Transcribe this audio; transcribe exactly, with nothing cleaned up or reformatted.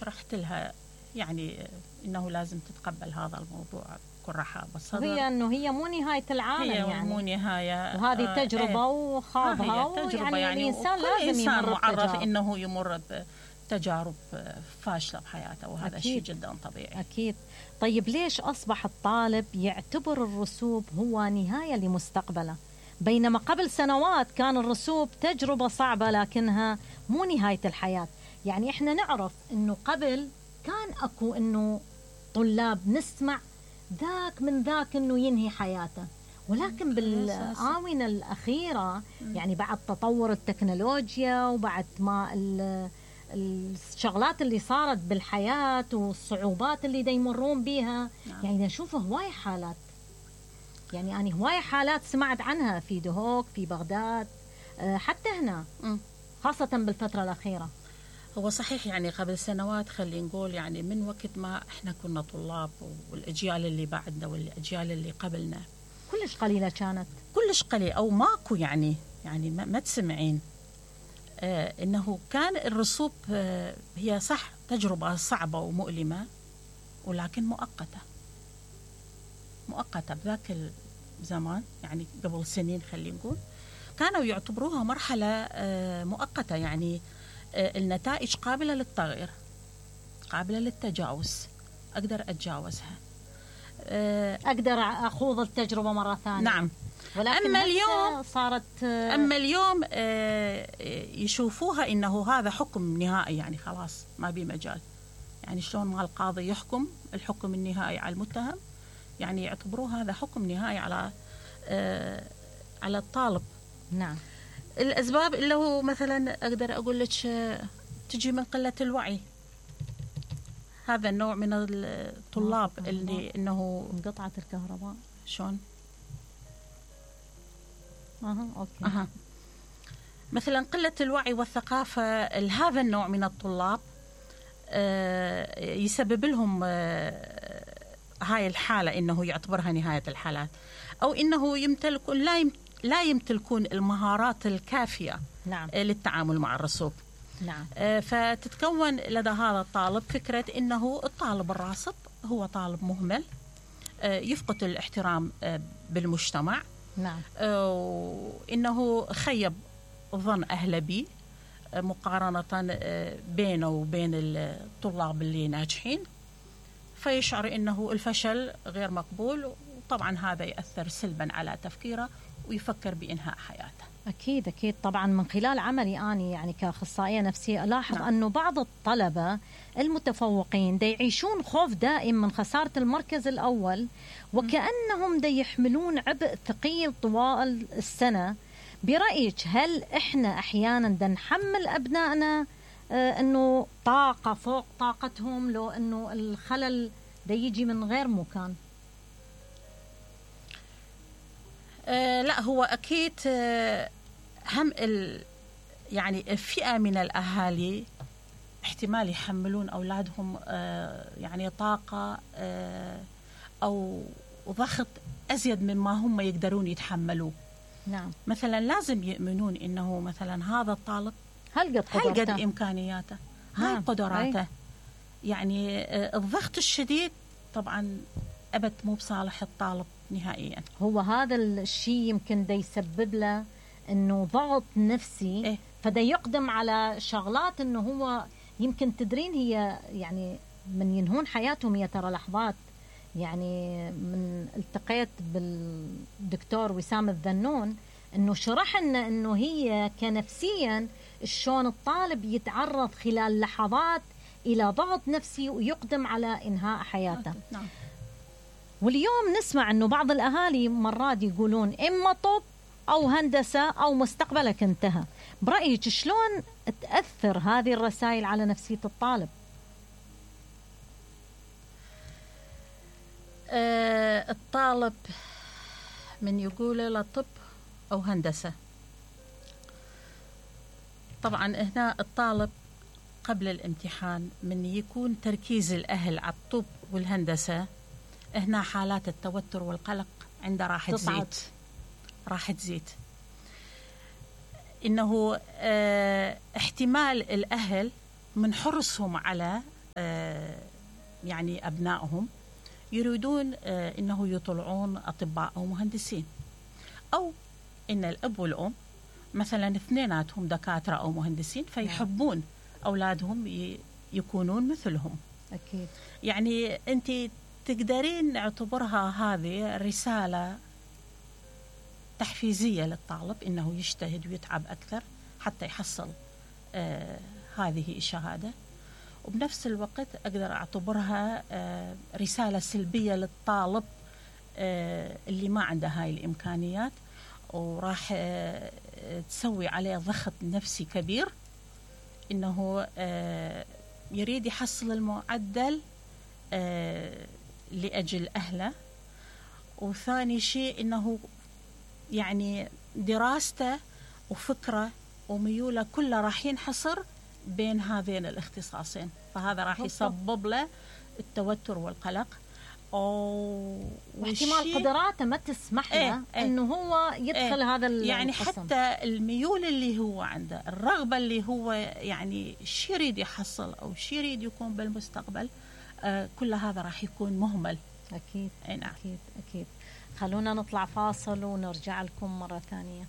شرحت لها يعني انه لازم تتقبل هذا الموضوع بكل رحابه بالصدر. هي انه هي مو نهايه العالم، هي يعني مو نهايه، وهذه تجربه آه وخاضها، ويعني يعني الانسان لازم إنسان يمر معرض بتجارب. انه يمر بتجارب فاشله بحياته، وهذا شيء جدا طبيعي. اكيد. طيب ليش اصبح الطالب يعتبر الرسوب هو نهايه لمستقبله، بينما قبل سنوات كان الرسوب تجربه صعبه لكنها مو نهايه الحياه؟ يعني احنا نعرف انه قبل كان اكو انه طلاب نسمع ذاك من ذاك انه ينهي حياته، ولكن بالآونة الأخيرة يعني بعد تطور التكنولوجيا وبعد ما الشغلات اللي صارت بالحياة والصعوبات اللي دا يمرون بيها، يعني نشوف هواي حالات، يعني أنا هواي حالات سمعت عنها في دهوك في بغداد حتى هنا، خاصة بالفترة الأخيرة. هو صحيح يعني قبل سنوات خلينا نقول يعني من وقت ما احنا كنا طلاب والأجيال اللي بعدنا والأجيال اللي قبلنا كلش قليلة كانت، كلش قليل أو ماكو، يعني يعني ما, ما تسمعين آه إنه كان الرسوب آه هي صح تجربة صعبة ومؤلمة، ولكن مؤقتة مؤقتة بذاك الزمان، يعني قبل سنين خلينا نقول كانوا يعتبروها مرحلة آه مؤقتة، يعني آه النتائج قابلة للتغيير، قابلة للتجاوز، أقدر أتجاوزها، أقدر أخوض التجربة مرة ثانية. نعم. ولكن أما اليوم صارت أما اليوم يشوفوها إنه هذا حكم نهائي، يعني خلاص ما بي مجال، يعني شلون ما القاضي يحكم الحكم النهائي على المتهم، يعني يعتبروه هذا حكم نهائي على على الطالب. نعم. الأسباب اللي هو مثلا أقدر أقول لك تجي من قلة الوعي، هذا النوع من الطلاب اللي انه انقطعت الكهرباء شلون اها اوكي اها مثلا قلة الوعي والثقافة لهذا النوع من الطلاب آه يسبب لهم آه هاي الحالة انه يعتبرها نهاية الحالات، او انه يمتلكون لا يم لا يمتلكون المهارات الكافية نعم. آه للتعامل مع الرسوب. نعم. آه فتتكون لدى هذا الطالب فكرة إنه الطالب الراسب هو طالب مهمل، آه يفقد الاحترام آه بالمجتمع. نعم. آه وإنه خيب ظن أهله به آه مقارنة آه بينه وبين الطلاب اللي ناجحين، فيشعر إنه الفشل غير مقبول، وطبعا هذا يأثر سلبا على تفكيره ويفكر بإنهاء حياته. أكيد أكيد طبعا. من خلال عملي أنا يعني كأخصائية نفسية ألاحظ نعم. أنه بعض الطلبة المتفوقين دا يعيشون خوف دائم من خسارة المركز الأول، وكأنهم دا يحملون عبء ثقيل طوال السنة. برأيك هل إحنا أحيانا دا نحمل أبنائنا آه أنه طاقة فوق طاقتهم، لو أنه الخلل دا يجي من غير مكان؟ آه لا هو أكيد آه هم ال يعني الفئة من الأهالي احتمال يحملون أولادهم آه يعني طاقة آه أو ضغط أزيد مما هم يقدرون يتحملوه. نعم. مثلا لازم يؤمنون إنه مثلا هذا الطالب هل قد هل قد إمكانياته، هاي نعم. قدراته أي. يعني آه الضغط الشديد طبعا أبد مو بصالح الطالب نهائيا. هو هذا الشيء يمكن دا يسبب له انه ضغط نفسي إيه؟ فدا يقدم على شغلات انه هو يمكن تدرين هي يعني من ينهون حياتهم هي ترى لحظات. يعني من التقيت بالدكتور وسام الذنون انه شرح لنا انه هي كنفسيا شلون الطالب يتعرض خلال لحظات الى ضغط نفسي ويقدم على انهاء حياته. نعم. واليوم نسمع أنه بعض الأهالي مرات يقولون إما طب أو هندسة أو مستقبلك انتهى. برأيك شلون تأثر هذه الرسائل على نفسية الطالب؟ آه الطالب من يقول له طب أو هندسة، طبعا هنا الطالب قبل الامتحان من يكون تركيز الأهل على الطب والهندسة، هنا حالات التوتر والقلق عنده راح تزيد راح تزيد إنه اه احتمال الأهل من حرصهم على يعني أبنائهم يريدون أنه يطلعون أطباء أو مهندسين، أو إن الأب والأم مثلا اثنيناتهم دكاترة أو مهندسين فيحبون أولادهم يكونون مثلهم. أكيد. يعني أنت تقدرين نعتبرها هذه رسالة تحفيزية للطالب إنه يجتهد ويتعب أكثر حتى يحصل آه هذه الشهادة، وبنفس الوقت أقدر أعتبرها آه رسالة سلبية للطالب آه اللي ما عنده هاي الإمكانيات، وراح آه تسوي عليه ضغط نفسي كبير إنه آه يريد يحصل المعدل آه لأجل أهله. وثاني شيء إنه يعني دراسته وفكره وميوله كلها راح ينحصر بين هذين الاختصاصين، فهذا راح يسبب له التوتر والقلق، واحتمال قدراته ما تسمح له ايه انه هو يدخل ايه هذا القسم. يعني حتى الميول اللي هو عنده، الرغبة اللي هو يعني شي يريد يحصل أو شي يريد يكون بالمستقبل، آه كل هذا راح يكون مهمل. أكيد. نعم. أكيد أكيد. خلونا نطلع فاصل ونرجع لكم مرة ثانية.